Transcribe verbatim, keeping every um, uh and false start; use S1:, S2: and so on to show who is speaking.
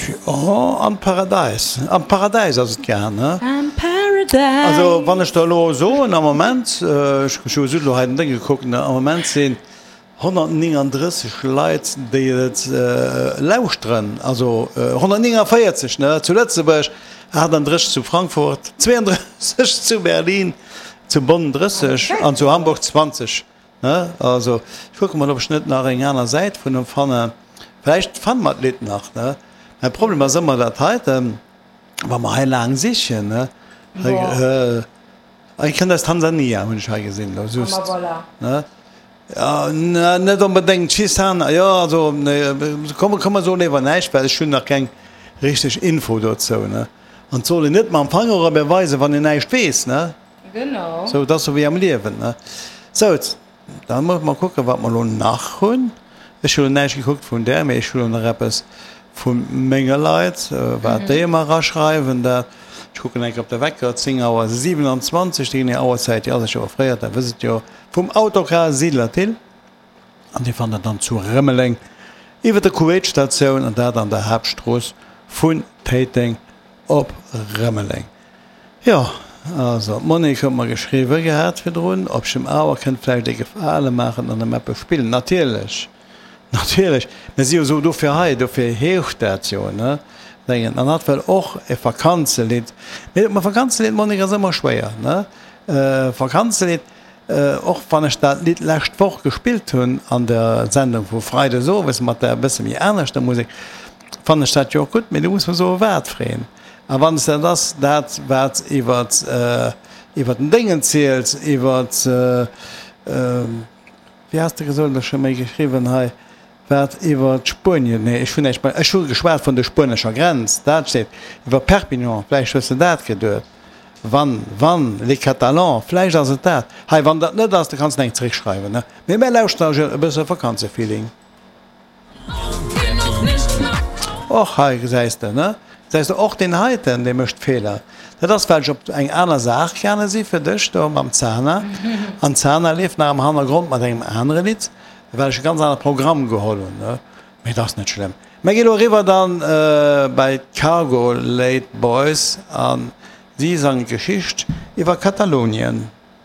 S1: Jo, an d'Paradäis. An d'Paradäis ass et gaang, ne?
S2: An d'Paradäis.
S1: Also, wann ech der elo soen, am Moment, ech hu just elo hei den Déng gekuckt, ne, am Moment sinn honnertnénganddrësseg Leit, déi et lauschteren, also honnertnénganvéierzeg, ne, zu Lëtzebuerg, achtandrësseg zu Frankfurt, zweeandrësseg zu Berlin, zu Bonn drësseg an zu Hamburg zwanzeg. Ne, also ech kucke mol, ob ech net nach eng aner Säit vun em fannen. Vläicht fanne mer d'Lidd nach, ne? Mäi Problem ass ëmmer dat heiten, wa mer hei laang sichen, ne? Hei, hei kënnt aus Tansania, hunn ech hei gesinn elo just.
S2: Ah, ma voilà.
S1: Ne? Ja, net onbedéngt Chisana, jo, also, ne, komm, komm mer soen léiwer näischt, well ech hunn nach keng richteg Info dozou, ne? An et soll een net mam Fanger op ee weisen, wann een näischt weess, ne?
S2: Genau.
S1: Sou, et ass sou wéi am Liewen, ne? Sou, da musse mer kucken, wat mer elo nach hunn. Ech hu lo näischt gekuckt vun där, mee ech hu lo nach eppes vu menge Leit, wat déi ëmmer eraschreiwen. Dat, ech kucken eng Kéier op de Wecker, zéng Auer siwenanzwanzeg, déi genee Auerzäit, déi ass ech jo offréiert, dat wësst et jo, vum Autocar Siedler Thill. An Dir fannt dat dann zu Rëmeleng iwwer der Kuwait-Statioun, an dat an der Haaptstrooss vun Téiteng op Rëmeleng. Jo, also d'Monique huet mer geschriwwe gehat virdrun, ob ech em awer kënnt vläicht ee Gefale maachen an em eppes spillen. Natierlech, natierlech, mir si jo esou dofir hei, dofir heescht dat jo, ne? Dengen. An hatt wëll och e Vakanzelidd. Mee e Vakanzelidd, Monique, ass ëmmer schwéier, ne? Vakanzelidd, och wann ech dat Lidd lescht Woch gespillt hunn an der Sendung vu Freides owes mat der e bësse méi aneschter Musek, fannen ech dat jo och gutt, mee du muss mer soen, wat fir een. A wann s dat ass, dat wat iwwer iwwer den Déngen zielt, iwwer, wéi has de gesot, ech hu méi geschriwwen hei, wat iwwer Spuenien, nee ech hunn näischt, ech hu geschwat vun der spuenescher Grenz, dat steet, iwwer Perpignan, vläicht hues de dat geduet, wann, wann, les Catalans, vläicht ass et dat. Hei, wann dat net ass, da kanns de eng zeréckschreiwen, ne? Mee mär lauschteren e bësse Vakanzefeeling. Och hei gesäis de, ne? Gesäis de, och deen heiten, dee mécht Feeler. Dat ass, well ech op eng aner Saach gaange si fir dech do mam Zana. An d'Zana leeft nach am Hannergrond mat engem anere Lidd, well ech e ganz anere Programm geholl hunn, ne? Mee et ass net schlëmm. Mir gi lo eriwwer dann bei d'Cargo Late Boys a si sangen d'Geschicht iwwer Katalonien.